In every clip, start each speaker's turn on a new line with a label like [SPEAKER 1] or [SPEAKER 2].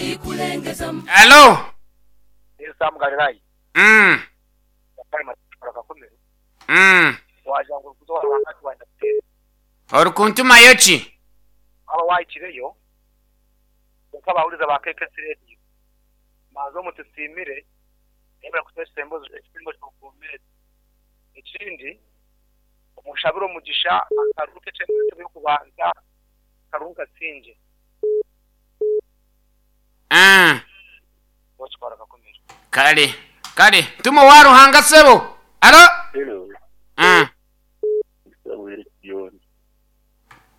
[SPEAKER 1] Alo.
[SPEAKER 2] Sam Galilaya.
[SPEAKER 1] Oli kuntumayo ki?
[SPEAKER 2] Waaba wahikireyo, kwonka abahuriza ba KKC Radio manza omutusiimire yebare kutuha ekisembo ky'obwomeezi. Ekindi, omushabire omugisha akaruru ke entebe y'okubanza akaruru nkasingye.
[SPEAKER 1] Kale, kale, tuma owa Ruhanga sebo. Alo?
[SPEAKER 3] Hello. Samuel Kiyonjo.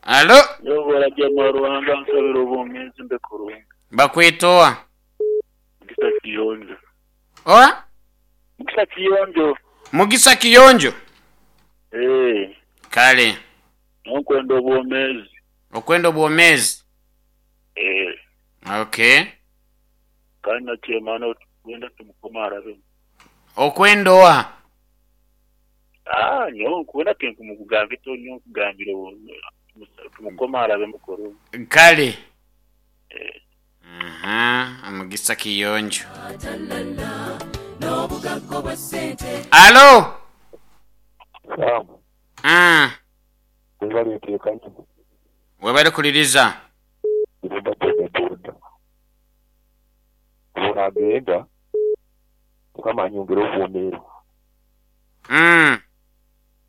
[SPEAKER 1] Alo?
[SPEAKER 3] Nyowe bw'oragya mwa Ruhanga nsabira obwomeezi mbe kurungi.
[SPEAKER 1] Bakweta owa?
[SPEAKER 3] Mugisa Kiyonjo.
[SPEAKER 1] Owa?
[SPEAKER 3] Mugisa Kiyonjo.
[SPEAKER 1] Mugisa Kiyonjo?
[SPEAKER 3] Eeh.
[SPEAKER 1] Kale.
[SPEAKER 3] Nyowe nkwenda obwomeezi.
[SPEAKER 1] Okwenda obwomeezi?
[SPEAKER 3] Eeh.
[SPEAKER 1] Okay.
[SPEAKER 3] Kandi na chairman otukwenda tumukome arabemu.
[SPEAKER 1] Okwenda owa?
[SPEAKER 3] Aah nyowe nkwenda tinkumugambire nyowe nkugambire tumukome arabemu kurungi.
[SPEAKER 1] Kale.
[SPEAKER 3] Eeh.
[SPEAKER 1] Aha, Mugisa Kiyonjo. Alo?
[SPEAKER 4] Sam. Webale nteekanye.
[SPEAKER 1] Webale kuliriza.
[SPEAKER 4] Irumba bodaboda. Bwonagenda Mukama anyongere obwomeezi. Eno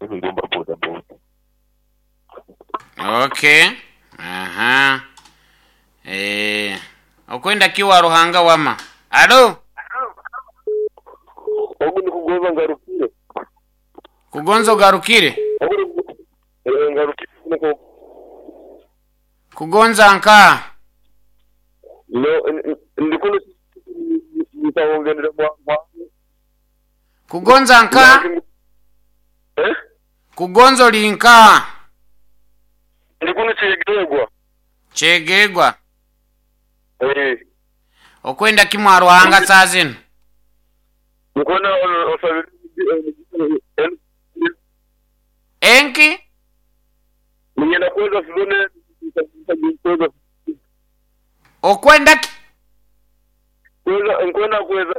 [SPEAKER 4] Irumba bodaboda.
[SPEAKER 1] Ok. Aha. Eeh. Okwenda ki wa Ruhanga wama? Alo?
[SPEAKER 4] Ogu ni kugonza ngarukire.
[SPEAKER 1] Kugonza ogarukire?
[SPEAKER 4] Eeh ngarukire.
[SPEAKER 1] Kugonza nka?
[SPEAKER 4] No, ndi kuno nitawongerera mwa.
[SPEAKER 1] Kugonza nka?
[SPEAKER 4] Eh?
[SPEAKER 1] Kugonza oli nka?
[SPEAKER 4] Ndi kuno Kyegegwa.
[SPEAKER 1] Kyegegwa?
[SPEAKER 4] Eh.
[SPEAKER 1] Okwenda ki mwa Ruhanga saa zino?
[SPEAKER 4] Nkwenda osabire
[SPEAKER 1] Enki?
[SPEAKER 4] Ninyenda kweza sizone kweza.
[SPEAKER 1] Okwenda ki?
[SPEAKER 4] Kweza nkwenda kweza.